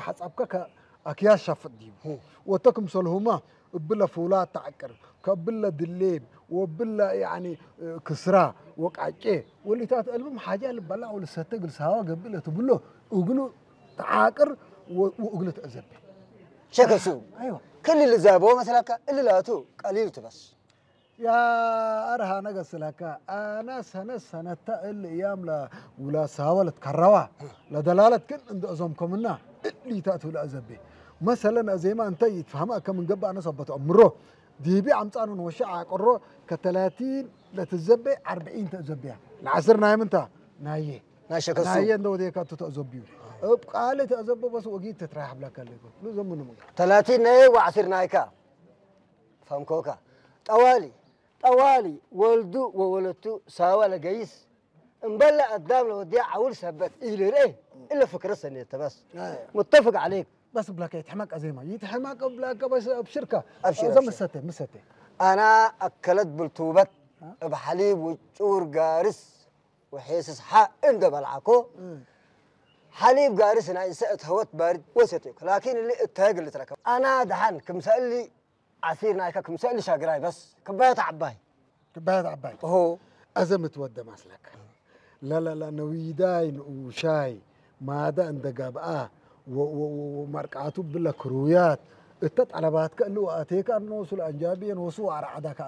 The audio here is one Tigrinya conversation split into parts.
ሓጻብካ ኣክያስ ሻፍጥ ድዩ? ወጥቶ ክምሰልሁማ እብለ ፍውላ ተዓቅር ከብለ ድሌብ ወብለ ያኒ ክስራ ወቃቄ ወሊታት እልብም ሓጃ ልበላ ወልሰተ ግልሳዋ ገብለ ትብሎ እግሉ ተዓቅር ወእግሉ ተዘበ ሸከሱ ኣይዋ ክልል ዛቦ መስላካ እልላቱ ቀሊል ትበስ يا أرها نقص لك أنا سنة سنة تقل أيام لا ولا ساولت كروا لا دلالة كن عند أزوم كمنا اللي تأتوا لأزبي مثلا زي ما أنت يتفهم كم من قبل أنا صبت أمره دي بي عم تانو نوشع قرو كتلاتين لا تزبي أربعين تزبي العصر نايم أنت نايه ናሸከሱ نايه ندو ديك أنت تزبيو أبقى تزبي بس وقيت تتراح بلا كلكو لو زمن من ተላቲን ናይ ወዓሲር ናይካ ፈምኮካ ጠዋሊ ጠዋሊ ወልዱ ወወለቱ ሳዋ ለገይስ እምበለ ኣዳም ለወዲያ ዓውል ሰበት ኢልርኤ እለ ፍክረ ሰኔት ተበስ متفق عليك بس بلاك يتحمق أزيما يتحمق بلاك بس أبشركة أبشر، زم أبشر. ستة مسته ኣና ኣከለት ብልቱበት እብ ሓሊብ ውጩር ጋርስ ወሒስስ ሓ እንደ በልዓኮ ሓሊብ ጋርስ ናይ እንሰ እትሀወት ባርድ ወሰቴኩ ላኪን እሊ እተግል ትረከብ ኣና ደሓን ክምሰእሊ ዓሲር ናይካ ክምሰእሊ ሻግራይ በስ ክባየት ዓባይ كباية عباي ኦሆ أزمة ود مسلك لا لا لا نويداي نوشاي ماذا عند جابا ومرقعته بلا كرويات التطلبات كأنه أتيك أنه سل أنجابي نوسو أرعدك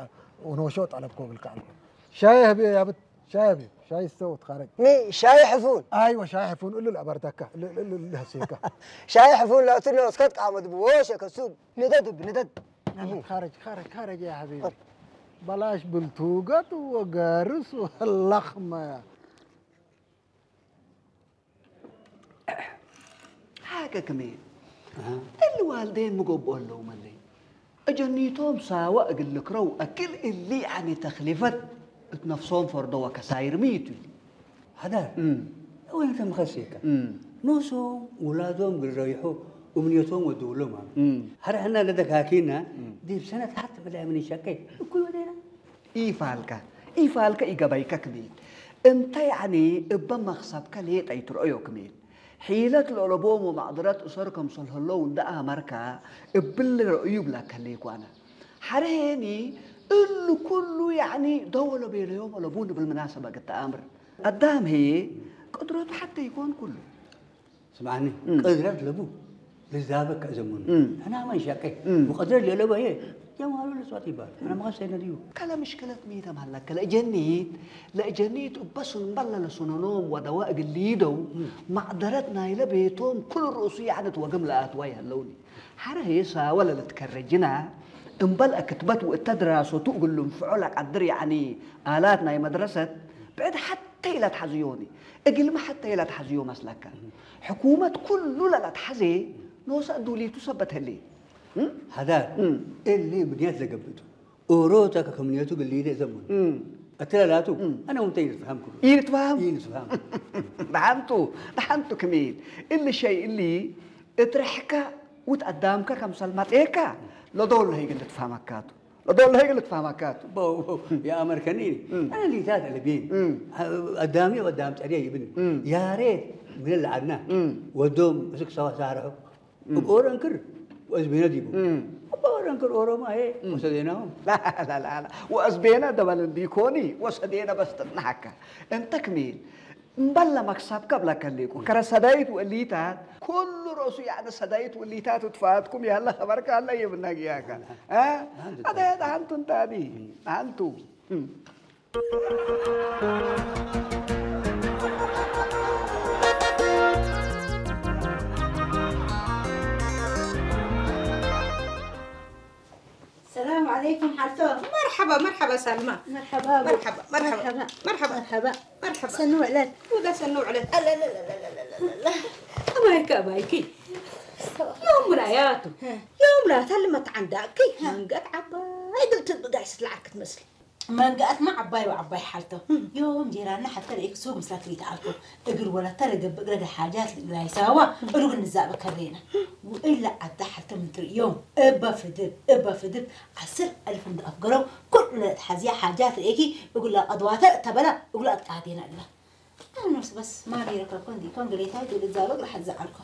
ونوشو طلب كوبل كأنه شاي هبي يا بت شاي هبي شاي استوت خارج ሚ ሻይ ሕፉን أيوة شاي حفون إلا الأبردكة إلا إلا إلا هسيكة ሻይ ሕፉን ለእትነ እስከት ቃመት ብወሸ ከሱብ ንደድ ብንደድ خارج خارج خارج يا حبيبي بلاش بلتوقت وقارس واللخمة حاجة كمان اللي والدين مقبول لهم اللي أجنيتهم ساوى أقول لك رو أكل اللي يعني تخلفت نفسهم فردوا كساير ميتوا حدا وين تم خسيكا نوسهم ولادهم قريحوا أمنيتهم ودولهم هر حنا لدك هاكينا دي بسنة حتى بلا من شكي كل ودينا إيفالكا إيفالكا إيقابيكا كميل أنت يعني إبا مخصبكا ليه تيترؤيو كميل حيلت لولبوم ومعضلات أسركم صلحلو دا أمركا إبل رؤيو بلا كليكوانا حرهيني إلو كلو يعني دولة بيليوم ولبون بالمناسبة قد أمر قدام هي قدرته حتى يكون كله ስምዓኒ ቅድረት ለቡ ልዛበ ከእዘሙኒ ሕና መን ሸቀ ብቐድረት ለለበ እየ ጀማሉ ልስዋት ይባል ሕና መቐሰ ነድዩ ከለ ምሽክለት ሚተ ማለከ ለእጀኒት ለእጀኒት እበሱን በለ ለሱነኖም ወደዋ እግሊደው ማዕደረት ናይለ ቤቶም ኩል ርእሱ ያዕነት ወግም ለኣትዋ ይህለውኒ ሓረ ሄሳ ወለ ለትከረጅና እምበል እክትበት ወእተ ድራሶቱ እግል ልንፍዖ ለቀድር ያዕኒ ኣላት ናይ መድረሰት ብዕድ ሓተ ኢለ ትሓዝዮኒ እግልሚ ሓተ ኢለ ትሓዝዮ መስለከ ሕኩመት ኩሉ ለለትሓዜ ኖሰ እዱሊቱ ሰበት ህሌ ሃዳር እሊ ምክንያት ለገብእቱ ኦሮታ ከከምንየቱ ግሊደ ዘሙን እትለላቱ ኣነ ውንተ ይንትፍሃም ኩሉ ይንትፍሃም ይንትፍሃም ደሓንቱ ደሓንቱ ክሚል እሊ ሸይ እሊ እትረሕካ ውት ኣዳምካ ከምሰል መጤካ ለዶል ለህይግ ልትፋመካቱ ለዶል ለህይግ ልትፋመካቱ የኣመርከኒ ኣነ ሊታት ለቤን ኣዳሚ ኣዳም ጸድያ ይብን ያሬት ምን ለዓድና ወዶም እስክ ሰዋ ሳርሑ እብ ኦረንክር ወእዝቤነ ዲቡ እብ ኦረንክር ኦሮማ ሄ ወሰዴናሆም ወእዝቤነ ደበልን ዲኮኒ ወሰዴነ በስትጥናሓካ እንተ ክሚል እምበለ መክሰብከ እብለከ ሊቁ ከረ ሰዳይት ወእሊታት ኩሉ ርእሱ ያዕኒ ሰዳይት ወእሊታት እትፋትኩም ያለ ኸበርከ አለ ይብነግያከ አደ ደሃንቱ እንታዲ ደሃንቱ السلام عليكم حالتو مرحبا مرحبا سلمى مرحبا مرحبا مرحبا مرحبا مرحبا مرحبا سنو علت ولا سنو علت لا لا لا لا لا لا لا أبايك أبايك يوم راياتو يوم لا تلمت عندك من قد عبا قلت بقاش العرك تمثل መንግኣትና ዓባይ ወዓባይ ሓልቶ ዮም ጀይራና ሓተ ርእክ ሱብ ምስላ ትሪት ኣልኮ እግር ወላ ተረገብ እግረ ሓጃት ላይሳዋ እሉግ ንዛበ ከሬና ወእላ ዓዳ ሓልቶ ምን ትርእዮም እባ ፍድብ እባ ፍድብ ዓስር ኣልፍ እንደ ኣፍገረው ኩሉ ለትሓዝያ ሓጃት ርእኪ እጉላ ቀድዋተ እተበላ እጉላ ኣጥቃቴና እላ ኣነስ በስ ማሪ ረከብኮ እንዲ ኮን ግሬታ ይብል ዛሎ ግራ ሓዛ ኣልኮ